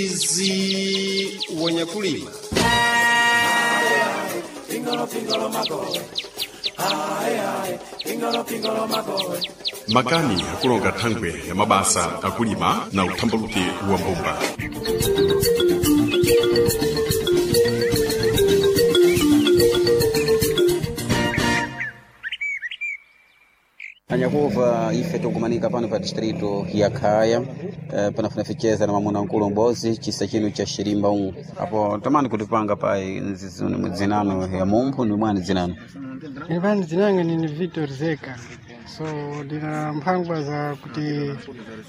Mwezi wanyakulima. Makani akulonga thangwe ya mabasa akulima na uthambaluke wa mbumba. Anyakuva ife tikumanika pano pa distrito ya Khaya, panafuna ficheza na mamuna nkulu mbozi chisa chino cha Shirimba umu apo tamani kutipanga pai dzinano ya mumphu ni mwani dzinano. Ipani dzinanga nini Victor Zeka. So ndina mphangwa za kuti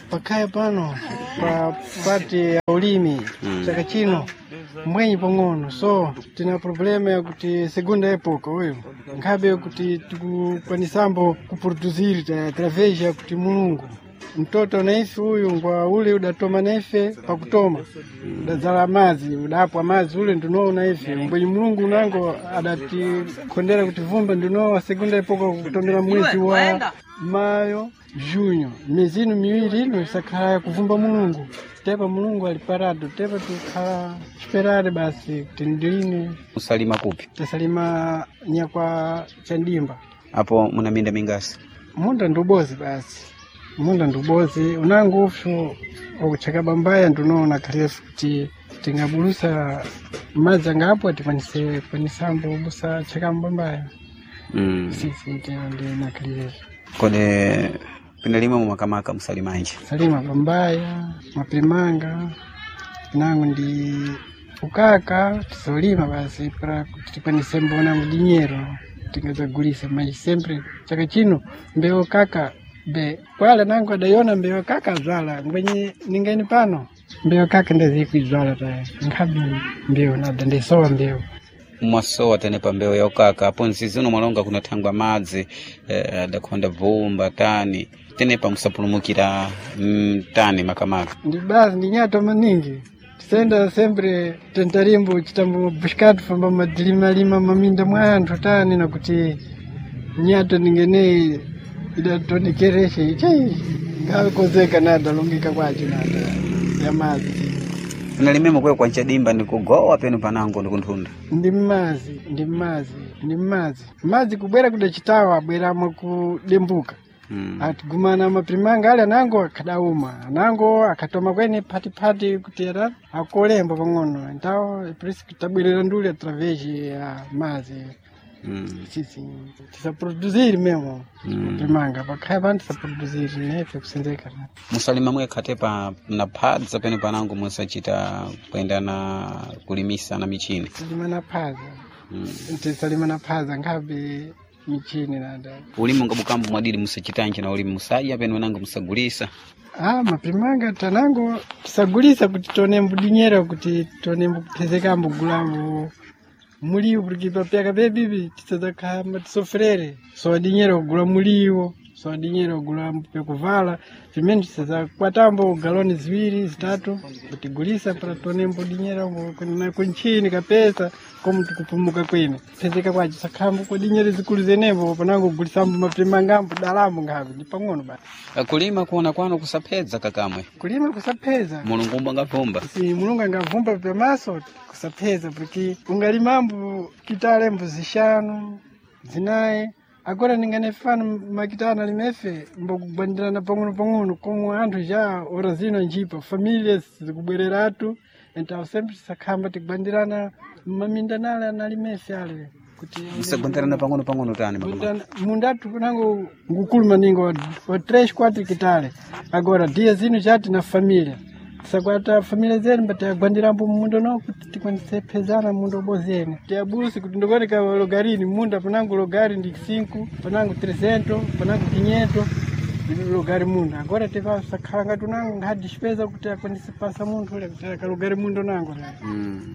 pakhaya pano pa pati ya ulimi chaka chino mbwenyi pang'ono, so tina problema yakuti segunda epoca uyu nkhabe kuti tikukwanisambo kuproduzir através ya kuti Mulungu mtoto naife uyu ngwa ule udatoma naife pakutoma udadzala madzi udapwa madzi ule ndinowo naife mbwenyi Mulungu unango adatikondera kuti vumba ndinowa segunda epoca kutomera mwezi wa mayo junho miezi ino miwiri ino isakhala yakuvumba Mulungu. Tepa Mulungu ali parado, tepa tukhala esperare basi kuti ndiline. Usalima kupi? Tasalima nyakwa chandimba. Apo muna minda mingasi? Munda ndiubozi basi, munda ndiubozi unango upso wakucheka bambaya ndinoona khalefu kuti tingabulusa madzi angapo atikwanise kwanisambo busa cheka mbambaya. Sisi ndinakhalirefu. Kodi pinalimwe mumakamaka musalimanji? Salima bambaya, maprimanga nangu ndi ukaka tisolima basi para kuti tikwanise mbona mudinyero tingadzagulisa maji sempre chaka chino mbewu kaka be kwala nangu adaiona mbewu kaka azwala ngwenye ningeni pano mbewu kaka ndazikuizwala taya nkhabe mbewu nada ndisowa mbewu. Mwasowa tene pa mbewu ya ukaka apo nzizi uno mwalonga kunathangwa madzi, adakhonda vumba tani tenepa musapulumukira tani makamaka. Ndi basi ndi nyato maningi tisenda sempre tentarimbo chitambo bushikatu famba madilimalima maminda mwa anthu tani nakuti nyato ningeneyi idatonekereshe ichai ngakozeka nada longeka kwacho nada ya madzi. Pinalimemo kwe kwa nchadimba ndikugowa penu panango ndikunthunda. Ndi mmazi, ndi mmazi, ndi mmazi madzi kubwera kudachitawa abweramo kudembuka. Atigumana maprimanga ale anango akadauma anango akatoma kwene phatiphati kuti era akolemba pang'ono ntawo prisi tabwerera nduli através ya madzi. Sisi tisaproduziri memo maprimanga pakhaya pano tisaproduziri nefe kusenzeka. Musalima mwekhate pa naphadza penu panango musachita kuyenda na kulimisa na michini? Tisalima na phaza. Tisalima na phaza nkhabe michini nada. Ulimi ungabukambo mwadidi musachitanji na ulimi musadya penu nango musagulisa? Ah, maprimanga tanango tisagulisa kuti tione mbudinyera kuti tione mbukupezekambo gulambo muliwo porque papyaka pebibi tisadzakhala tisofrere sowa dinyera kugula muliwo sowa dinyera kugula pyakuvala pimene tisadzakwatambo galoni ziwiri zitatu kutigulisa para tione mbudinyera kunchini kapesa komu tikupumuka kwene pezeka kwacho sakhambo kwa dinyera zikulu zenepo panango kugulisambo maprimangambo dalambo nkhabe ndi pang'ono basi. Kulima kuona kwanu kusaphedza kakamwe? Kulima kusapheza. Mulungu umba angavumba. Si Mulungu angavumba pamaso kusapheza porque ungalimambo kitalembo zishanu zinayi agora ninganefano makitana limefe mbokugwandirana pang'ono pang'ono komwe anthu ja ora zino njipa família zikubwereratu então sempre tisakhamba tigwandirana maminda nale analimefe ale kuti Musagwandirana pang'ono pang'ono tani makamaka? Mundatu kunango ngukulu maningo wa 3 4 kitale agora dia zino chati na família tisakwata família zenu batagwandirambo munda no kuti tikwanise phezana munda ubozene tiabusi kuti ndikuoneka logarini munda panango logari ndi 5 panango 300 panango 500 logari munda agora tipasakhala ngati unango nkhadixipeza kuti akwanise pasa munthu ule kuti akalogari munda unango.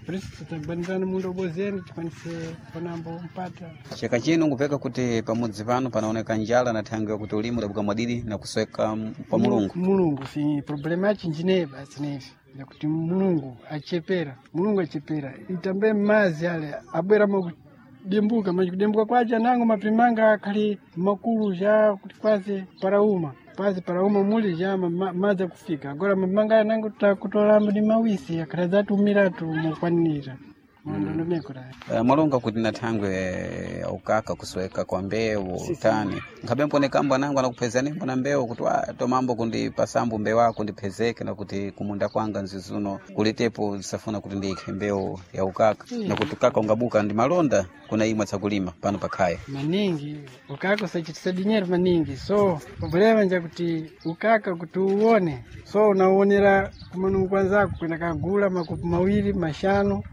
Por isso titagwandirana munda ubozene tikwanise panambo mpata. Chaka chino ngupeka kuti pamudzi pano panaoneka njala na thangwi yakuti ulimi udabuka mwadidi na kusweka pa Mulungu. Mulungu si problema yachinjineyi basi nefe yakuti Mulungu achepera, Mulungu achepera itambe mazi ale abwera makudembuka machikudembuka kwacho anango maprimanga akhali makulu ja kuti kwaze parauma. Pasi para umo muli ja madzi akufika agora mamanga nango takutolambo ni mawisi akatadzatumira mukwanira ndondomeko Eh, mwalonga kuti na thangwe ukaka kusweka kwa mbewu tani nkhabe mponeka anangu anakuphezani mbona mbewu kuti "Ah, tomambo kundipasambu mbewu ako ndiphezeke na kuti kumunda kwanga nzizuno kulitepo zisafuna kuti ndikhe mbewu ya ukaka na kuti ukaka ungabuka ndi malonda kuna imwe tsakulima pano pakhaya maningi ukaka usachitisa dinheiro maningi so problema njakuti ukaka kuti uwone so unauonera kumanungu kwanzako kwenda kagula makopo mawiri mashanu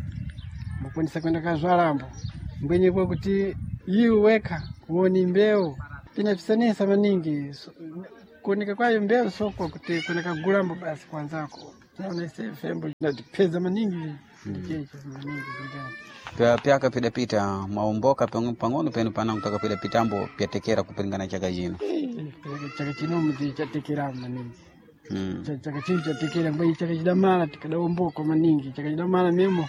mukwanisa kwenda kazwalambo mbwenye kwa kuti iwe wekha uoni mbewu pinapisanisa maningi so, kuoneka kwayo mbewu sokwa kuti kwenda kagulambo basi kwanzako naona ise fembo natipeza maningi ndichecho maningi zingani Pyaka pidapita mwaomboka pang'ono penu panangu taka pitambo pyatekera kupilingana chaka chino chaka chino mudzi chatekera maningi mm. Chaka chino chatekera mbwe chaka chidamala tikadaomboka maningi chaka chidamala memo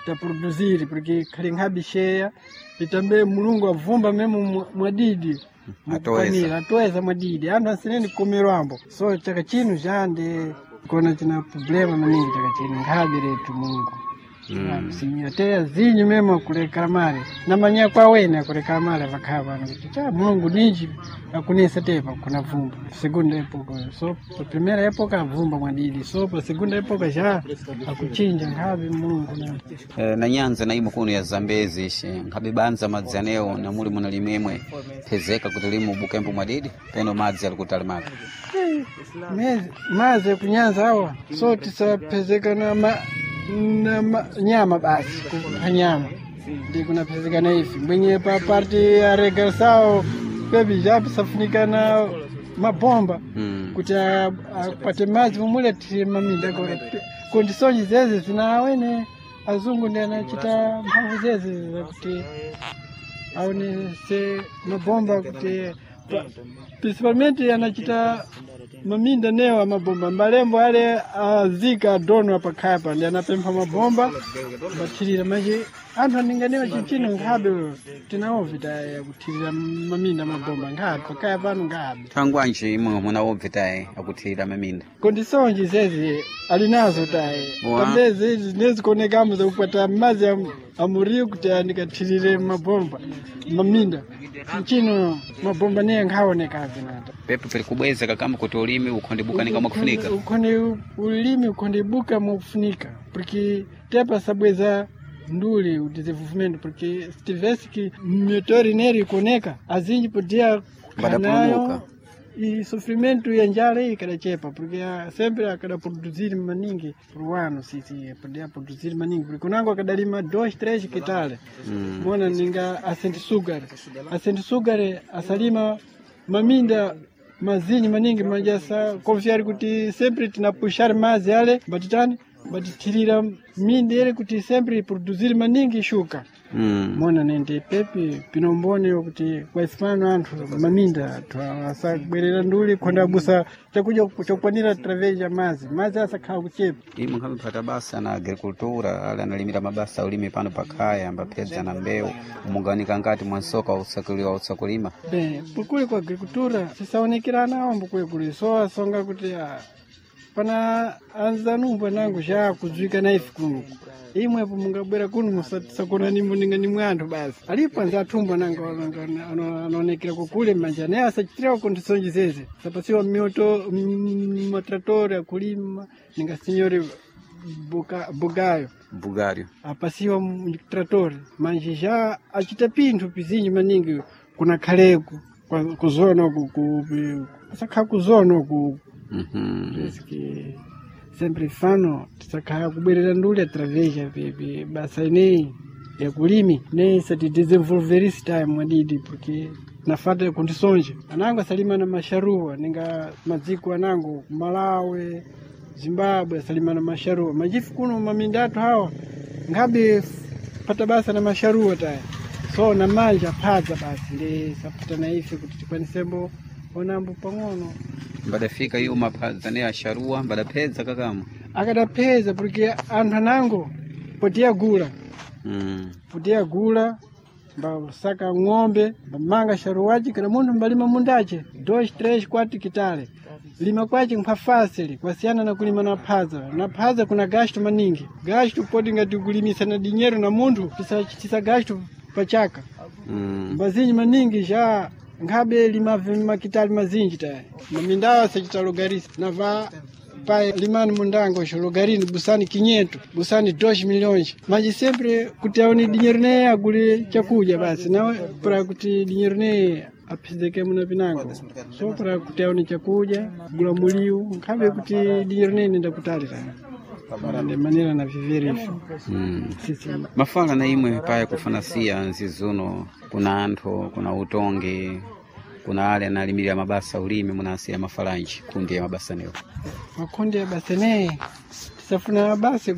taproduziri porque khali nkhabi sheya itambe mulungu avumba memo mwadidi mukukwanira atoeza mwadidi anthu asineni kukomerwambo so chaka chino chande kona china problema maningi chaka chino nkhabi letu mulungu ate azinyu memo kulekala male namanya kwa wene akulekala male vakhala pano kuti cha mulungu ninji akunisa tepa kuna vumba segunda epoka so pa primeira epoca avumba mwadidi so pa segunda epoca já akuchinja nkhabe mulungu na Eh, na nyanza na imwe kuno ya zambezi ishe nkhabe banza madzi anewo na muli muna limemwe phezeka kuti limu bukembo mwadidi peno madzi ali kutalimaka Maze kunyanza awa so tisapezeka na, na nyama basi kupha nyama ndi kunapezeka na ifi mwenye pa parti ya regressao pepi japisafunika na mabomba kuti apate madzi mumule tiri maminda kondisonji zeze zinawene azungu ndi anachita mphamvu zeze zakuti aonese mabomba kuti principalmente anachita maminda newa mabomba malembo ale azika adono apakhapa ndi anapempha mabomba bathirira manje anthu aninganewa chichino nkhabe tinaovita kuthirira maminda mabomba nkhabe pakhaya pano nkhabe thangwanji imwe munaobvitaye akuthirira maminda kondisonji zezi ali nazo taye tambezi izi nezikonekamo zakupata madzi amuriyo kuti andikathirire mabomba maminda mchino mabomba niye nkhaonekabe nata pepo pili kubweza kakamba kuti ulimi ukhondibuka mwakufunika ukhonde ulimi ukhondibuka mwakufunika porque tepa sabweza nduli o desenvolvimento porque se tivesse que motor nele ikuoneka azinji podia Badapulumuka. E sofrimento ya njala iyi kadachepa porque sempre akadaproduzir maningi por ano sisi podia produzir maningi porque kunango akadalima 2 3 hectares mona ninga asente sugar asente sugar asalima maminda mazinyi maningi manja sa confiar kuti sempre tinapuxar mazi ale batitani batithirira minda ele kuti sempre produzir maningi shuka mona nende pepi pinombone kuti kwaisipano anthu maminda anthu asabwerera nduli khonda abusa chakudya chokwanira através ya mazi mazi asakhala kuchepa imwe nkhamphata basa na agricultura ali analimira mabasa ulimi pano pakhaya ambaphedza na mbewu mugawanika ngati mwansoka usakuliwa usakulima Bem, pokule kwa agricultura sisaonekera nawo mbukule so asonga kuti pana anzanumba nangu xa kudzwika na ife kuno imwepo mungabwera kuno musakona nimbo ninga nimwe anthu basi alipo anza athumba nangu anaonekera kukule manja naye asachitirawo kondisonji zeze sapasiwa mioto matratori akulima ninga sinyori bugayo bugario apasiwa tratori manje já achita pinthu pizinji maningi kuna khaleku kuzona uku asakhala kuzona uku Parece sempre fano tisakhala kubwerera nduli através ya basa ineyi ya kulimi ne sati desenvolverisi time mwadidi porque nafata ya kundisonja anango asalima na masharuwa ninga madziko anango Malawi Zimbabwe asalima na masharuwa majifu kuno maminda athu hawa nkhabe pata basa na masharuwa taya so na manja phadza basi ndi sapata na ife kuti tikwanisembo onambo pang'ono mbadafika iyo maphadza ne asharuwa mbadaphedza kakamo akadapheza porque anthu anango potiyagula potiyagula mbasaka ng'ombe mbamanga sharuwaci kana munthu mbalima mundace 2 3 4 kitale Lima kwache nkhwafasili kwasiyana na kulima na phaza. Na phaza kuna gasto maningi. Gasto podi ngati kulimisa na dinheiro na munthu tisa gasto pachaka. Mazinji maningi já nkhabe lima makitali mazinji tayari. Mamindawa sachitalogarisa na va pai limani mundango xo lugarini busani 500 busani 2 milhões mas sempre kuti aone dinheiro ne agule chakudya basi nawe para kuti dinheiro ne aphizeke muna pinango so para kuti aone chakudya gula muliu nkhabe kuti dinheiro ne nenda kutalira ndi manera na vivere ifo. Sisi. Mafala na imwe paya kufanasiya nzizuno, kuna anthu, kuna utongi, kuna ale analimirira mabasa ulimi, munasiya mafalanji kundi ya mabasa newo? Makundi ya basa ne tisafuna basi.